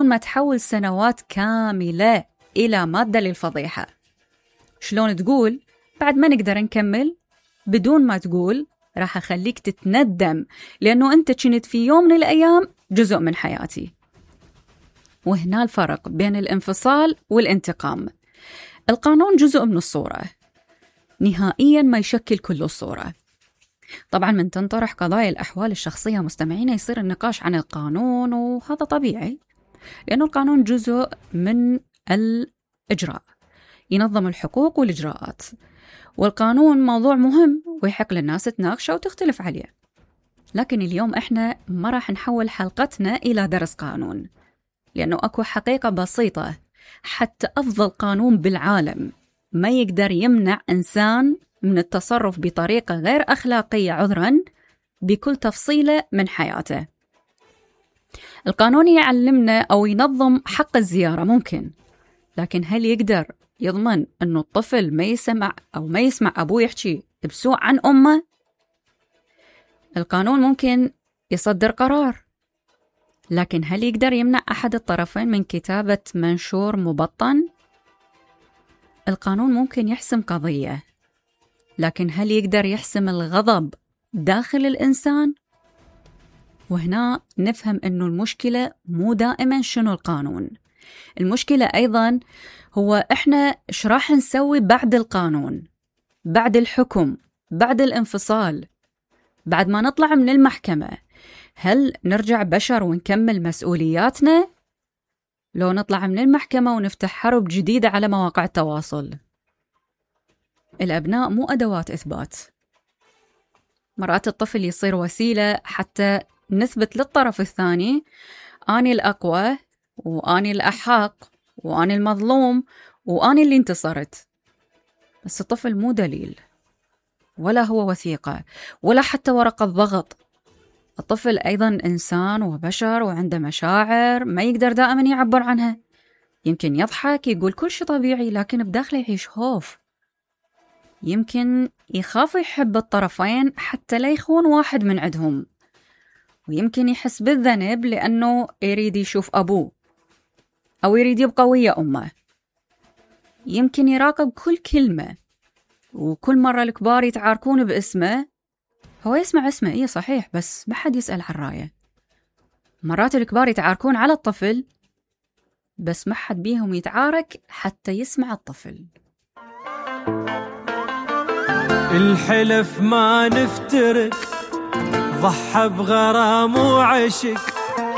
ما تحول سنوات كاملة إلى مادة للفضيحة. شلون تقول بعد ما نقدر نكمل بدون ما تقول راح أخليك تتندم لأنه أنت كنت في يوم من الأيام جزء من حياتي. وهنا الفرق بين الانفصال والانتقام. القانون جزء من الصورة، نهائياً ما يشكل كل الصورة. طبعاً من تنطرح قضايا الأحوال الشخصية مستمعين يصير النقاش عن القانون، وهذا طبيعي لأنه القانون جزء من الإجراء، ينظم الحقوق والإجراءات، والقانون موضوع مهم ويحق للناس تناقشه وتختلف عليه. لكن اليوم إحنا ما راح نحول حلقتنا إلى درس قانون، لأنه أكو حقيقة بسيطة: حتى أفضل قانون بالعالم ما يقدر يمنع إنسان من التصرف بطريقة غير أخلاقية عذراً بكل تفصيلة من حياته. القانون يعلمنا أو ينظم حق الزيارة ممكن، لكن هل يقدر يضمن أنه الطفل ما يسمع أو ما يسمع أبوه يحكي بسوء عن أمه؟ القانون ممكن يصدر قرار، لكن هل يقدر يمنع أحد الطرفين من كتابة منشور مبطن؟ القانون ممكن يحسم قضية، لكن هل يقدر يحسم الغضب داخل الإنسان؟ وهنا نفهم أنه المشكلة مو دائما شنو القانون، المشكلة أيضا هو إحنا إيش راح نسوي بعد القانون، بعد الحكم، بعد الانفصال، بعد ما نطلع من المحكمة. هل نرجع بشر ونكمل مسؤولياتنا؟ لو نطلع من المحكمة ونفتح حرب جديدة على مواقع التواصل. الأبناء مو أدوات إثبات. مرات الطفل يصير وسيلة حتى نثبت للطرف الثاني أنا الأقوى وأنا الأحق وأنا المظلوم وأنا اللي انتصرت. بس الطفل مو دليل، ولا هو وثيقة، ولا حتى ورقة ضغط. الطفل أيضاً إنسان وبشر وعنده مشاعر ما يقدر دائماً يعبر عنها. يمكن يضحك يقول كل شيء طبيعي، لكن بداخله يعيش خوف. يمكن يخاف يحب الطرفين حتى لا يخون واحد من عندهم، ويمكن يحس بالذنب لأنه يريد يشوف أبوه أو يريد يبقى ويا أمه. يمكن يراقب كل كلمة، وكل مرة الكبار يتعاركون باسمه هو يسمع اسمه إيه صحيح، بس ما حد يسأل عن رأيه. مرات الكبار يتعاركون على الطفل، بس ما حد بيهم يتعارك حتى يسمع الطفل. الحلف ما نفترق، ضحى بغرام وعشق،